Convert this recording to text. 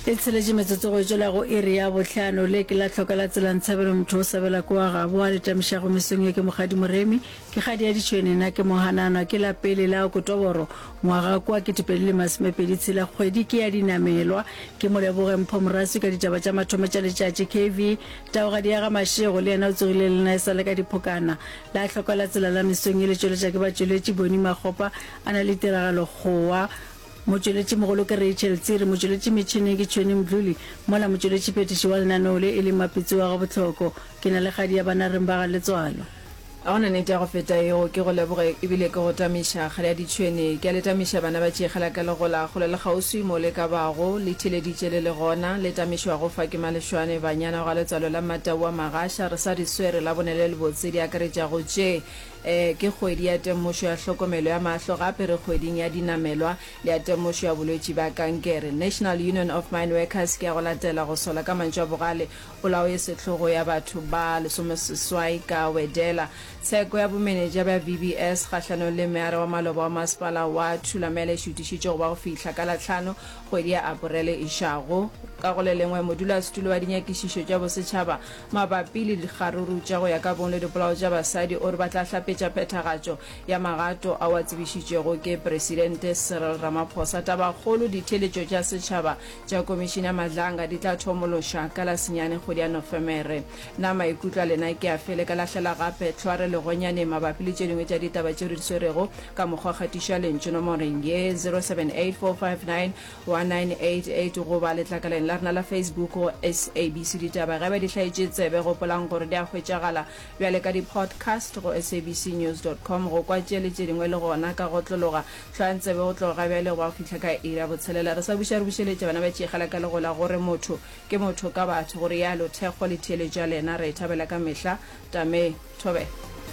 E tsheletše metsotso go tšwela go iri ya bohlano. Le ke la hloka la tsela Ntshabelo motho o sabela kwa gabo a le tamišago mesong ye ke Mokgadi Moremi. Ke kgadi ya ditšhwene na ke Mohananwa ke la pele la Okotoboro ngwaga kwa 2026 kgwedi ke ya dinamelwa. Ke Moleboge Mpho Moraswi ka ditaba tša mathomo tša letšatši. KV Taogadi ya ga Mashego le yena o tsogile le nna e sa le ka diphokana. La hloka la tsela la mesong ye le tšweletša ke batšweletši Boni Makgopa a na le tiragalo Kgowa Motšweletšimogolo ke Rachel Tsiri, motšweletšimetšhineng ke Tšhweni Mdluli, mola motšweletšiphethiši wa lenaneo le e le Mapitsi wa Gabohloko. Ke na le kgadi ya banareng ba ga Letswalo. Ga go na nnete ya go feta yeo. Ke go leboge ebile ke go tamiša, kgadi ya ditšhwene. Ke a le tamiša bana ba tšeegela ka legola, kgole le kgauswi mo le ka bago. Le theeleditše le le gona. Le tamišwago fa ke Malešwane, banyana wa ga Letswalo la Mmatau wa Magasha. Re sa di swere Labone le lebotse di akaretšago tše. E, ke kgwedi ya temošo ya hlokomelo ya mahlo gape re kgweding ya dinamelwa le ya temošo ya bolwetši bja kankere. National Union of Mineworkers ke ya go latela go sola ka mantšu a bogale polao ye sehlogo ya batho ba lesomeseswai ka Wedela. Tsheko ya bomenetša bja VBS kgahlanong le meara wa maloba wa masepala wa Thulamela e šutišitšwe go ba go fihla ka Lahlano kgwedi ya Aporele išago. Ka go le lengwe, modulasetulo wa dinyakišišo tša bosetšhaba Mabapi le dikgaruru tša go ya ka bong le dipolao tša basadi, o re ba tla hlapetša phethagatšo ya magato ao a tsebišitšwego ke Presidente Cyril Ramaphosa. Tabakgolo, Ditheeletšo tša setšhaba tša Komišene ya Madlanga di tla thomološa ka la senyane kgwedi ya Nofemere. Na maikutlo a lena ke afe? Le ka lahlela gape tlhware legonyaneng mabapi le tše dingwe tša ditaba tšeo re di swerego ka mokgwa wa kgatišo ya lentšu nomoreng ye 078 459 1988 goba letlakaleng la rena la Facebook go SABC Ditaba. Ge ba di hlaetše tsebe, gopolang gore di a hwetšagala bjale ka di-podcast go sabcnews dot com. Go kwa tše le tše dingwe le gona ka go otlologa. Hlwayang tsebe go tloga ga bjale go ba go fihla ka iri ya botshelela. Re sa buša re bušeletša bana ba tšeegela ka legola gore motho ke motho ka batho. Go realo, thekgo le theeletšo ya lena re e thabela ka mehla. Tame Thobela.